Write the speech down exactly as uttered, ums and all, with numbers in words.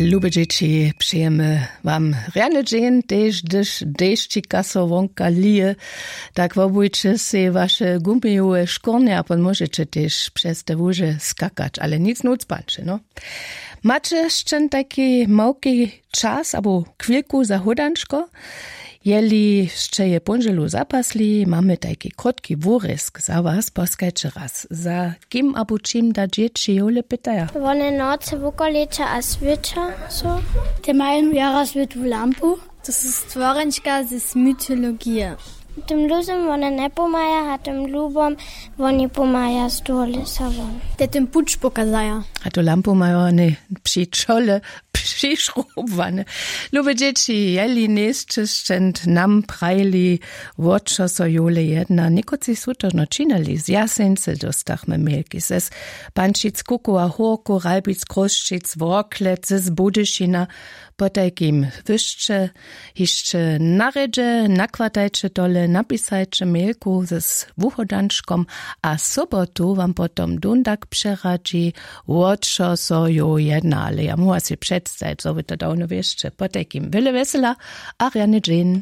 Lube dźěći, přejemy wam rjany dźeń, tež hdyž dešćika so wonka lije, tak wobujće sej waše gumijowe škórnje a pon móžeće tež přez te łuže skakać, ale nic nóc panče no. Maće sćen tajki małki čas abo chwilku za hódančko? Jeli sće je póndźelu zapasli, mamy tajki krótki wurězk za was. Poskajće raz, za kim abo čim da dźěći jowle pytaja? Wone nocy wukoleča a swěća so. Te mają jara swětłu lampu. To su stworenčka z mytologije. Tym luzym wone njepomaja a tym lubom woni pomaja z dołu lěsa won. Te tym puć pokazaja. A tu lampu mają wone při čole přišrubowane. Lube dźěći, jeli njejsće sćent nam prajili, wo čo so jowle jedna, někotři su to žno činili. Z Jaseńcy dóstachmy mailki, z Pančic, Kukowa, Hórkow, Ralbic, Chrósćic, Worklec, z Budyšina. Potajkim wy sće hišće na rjedźe, nakwjertajće tole, napisajće mailku z wuhodančkom a sobotu wam potom dundak přeradźi, wo čo so jow jedna. Ale ja móhła sej předstajić, zo wy to dawno wěsće. Potajkim wjele wjesela a rjany dźeń.